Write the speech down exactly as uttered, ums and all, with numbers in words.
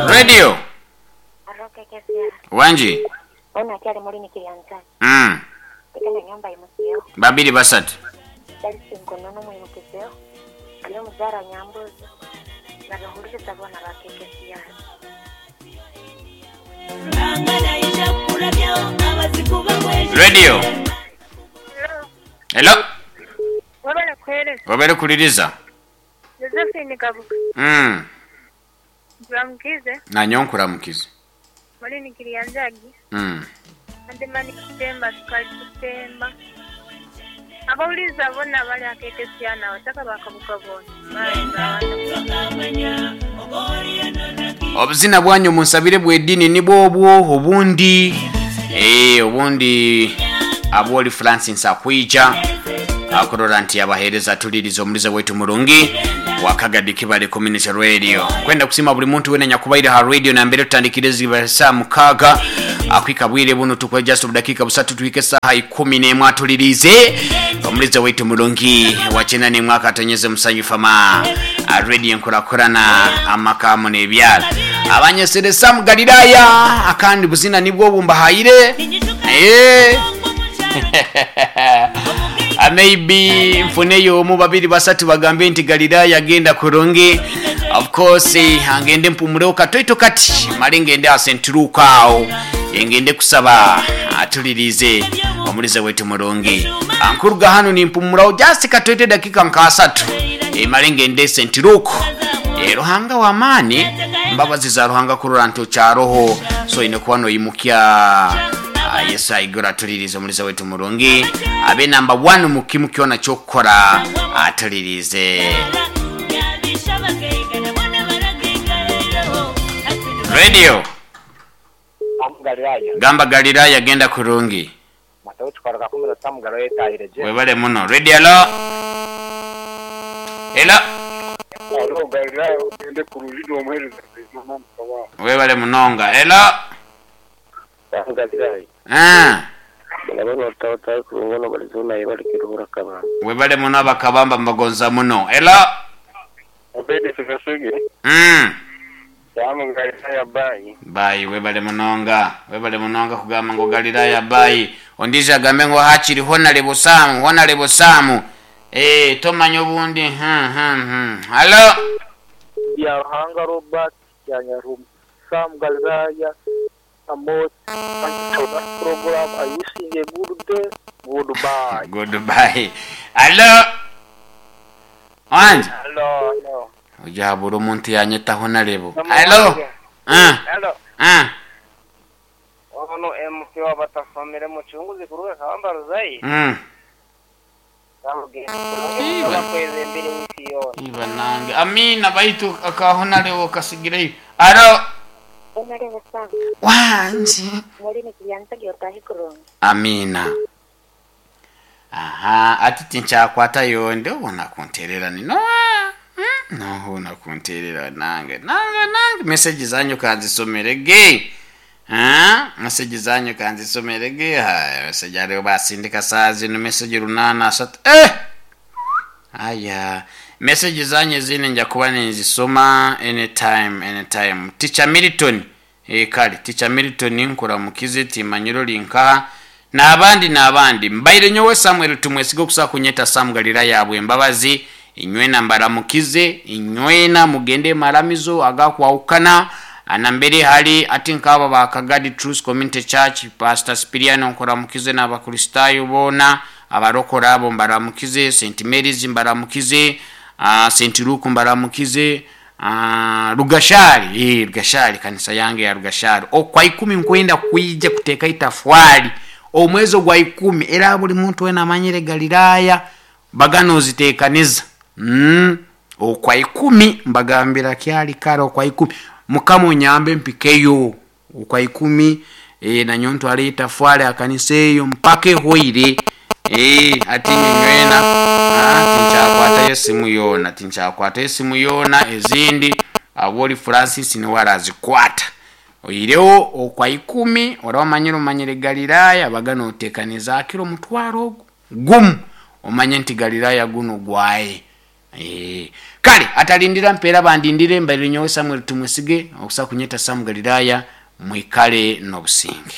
Radio. Aroke kesia. Wanji. Ona akyali mulini kiryanzani. Mm. Tekana nyumba imukiyeho. Babiri basatu. Dalisi nkonono mwimukizeho. Aliyo muzara nyambuzi. Nabahuliriza bona ba K K C R. Radio. Hello. Wabala kuhereza. Wabere kuliriza. Josephine Kabuga. Mm. Nkuramukize. Nanyo nkuramukize. Mulini kiryanzagi. Mm. Andemani kutemba sukali kutemba. Abawuliza bona bali akekesia nawe taka bakabuka bona. Bye. Obuzina bwanyu munsabire bw'eddiini nibwo obwo obundi eh, obundi abwoli Francis akwija akurora nti abaheereza tuliriza omuliza wetu murungi wakagadi Kibale Community Radio. Kwenda kusima buli muntu wena nyakubaire ha radio na mbere tutandikire saa mukaaga akwika bwire buno tukwe just budakika busatu tuwike saha ikumi n'emwe atulirize omuliza wetu mulungi wachena ni mwaka atonyeze musanyu fama a radio nkurakurana amakamu n'ebyalo abanyeseresa mu Galilaya akandi buzina nibwo bumbahayire eh Ah, maybe nfuneyo omu, babiri, basatu bagambe nti Galilaya agenda kurungi. Of course eh, angende mpumulewo katoito kati male ngende asenturuka awo engende kusaba atulirize omulize wetu mulungi ankuruga hano nimpumulawo just katoito dakika nkasatu e, male ngende sentiruku e, Ruhanga w'amaani, mbabazi za Ruhanga kurora nti okyaroho so ine kuba noyimukya. Ah, Yesu aigura atulirize omulize wetu mulungi abe namba one mukimu kyona kyokukora atulirize. Radio. Galilaya. Gamba Galilaya genda kurungi. Matayo tukwaruka kumi na tamu Galilaya etahire gye. Webale muno. Radio, hello, hello. Alo, Galilaya ogende kurungi n'omuheereza mama mukama. Webale munonga. Hello. Tamu Galilaya. Ah. Ndabona otawatayo kurungi no balizona ibali kiruhura kabana. Webale muno abakabamba mbagonza muno. Hello. Obedi Sikasige. mm. Tamu Galilaya, bayi. Bayi, webale munonga, webale munonga kugamba ngo Galilaya bayi. Ondize agambe ngo hakiri honalebo Samu, honalebo Samu. Eh, tomanya obundi. hmm, hmm, hmm. Hello. Ya Ruhanga Robert ya Nyarumu. Sam Galilaya Amos, thank you for that program. I wish you a good day. Goodbye. Goodbye. Hello. Wanje. Hello, hello. Ojabura omuntu yanyeta honalebo. Hello. Ah. Hello. Ah. Ono M P wabatafamire mucunguzi kuruga kabamba ruzayi. Mm. Samugenda. Bakweze mbiri wiki yona. Iba nange. Amina baitu akahonalebo kasigireyo. Hello. Onalebe Sam. Wanje. Mulini kiryanzagi otahi kurungi. Amina. Aha, ati tinkyakwata yonde obona kunterera nino. Mm, nohuna kunterera nange nange nange message zanyu kanzisomere ge. Ah, message zanyu kanzisomere ge. Haya, message ariyo basindika saa zino message runana asatu eh aya message zanyu zine nja kuba nenzisoma anytime, anytime. Teacher Milton, eh, kale Teacher Milton nkuramukize timanyiro linkaha n'abandi n'abandi mbaire nyowe Samuel Tumwesiga okusa kunyeta Sam Galira yabwe embabazi inywena mbaramukize inywena mugende maramizo agakwawukana anambere hali ati nk'aba ba Kagadi Truth Community Church, Pastor Spiriano nkuramukize n'abakristayo boona abarokora abo mbaramukize, Saint Mary's mbaramukize, uh, Saint Luke mbaramukize, uh, Rugashari, eh, Rugashari, kanisa yange ya Rugashari okwa ikumi nkwenda kwija kuteeka itafwali omwezi ogwa ikumi era buli muntu wena amanyire Galilaya bagano oziteekaniza mm. Okwa ikumi mbagambira kyali kale okwa ikumi mukama onyambe mpikeyo okwa ikumi e, nanyo ntwale itafwali akanisa eyo mpaka ehweire e, ati nyenywena ah, tinkyakwatayo esimu yoona, tinkyakwatayo esimu yoona ezindi aboli Francis niwe arazikwata oyirewo okwa ikumi ora omanyire omanyire Galilaya bagana otekaniza akiro omutwaro ogwo gumu omanye nti Galilaya guno gwaye. Eh, kale atalindira mpeera bandindire mbaire nyowe Samuel Tumwesige okusa kunyeta Sam Galilaya, mwikale n'obusinge.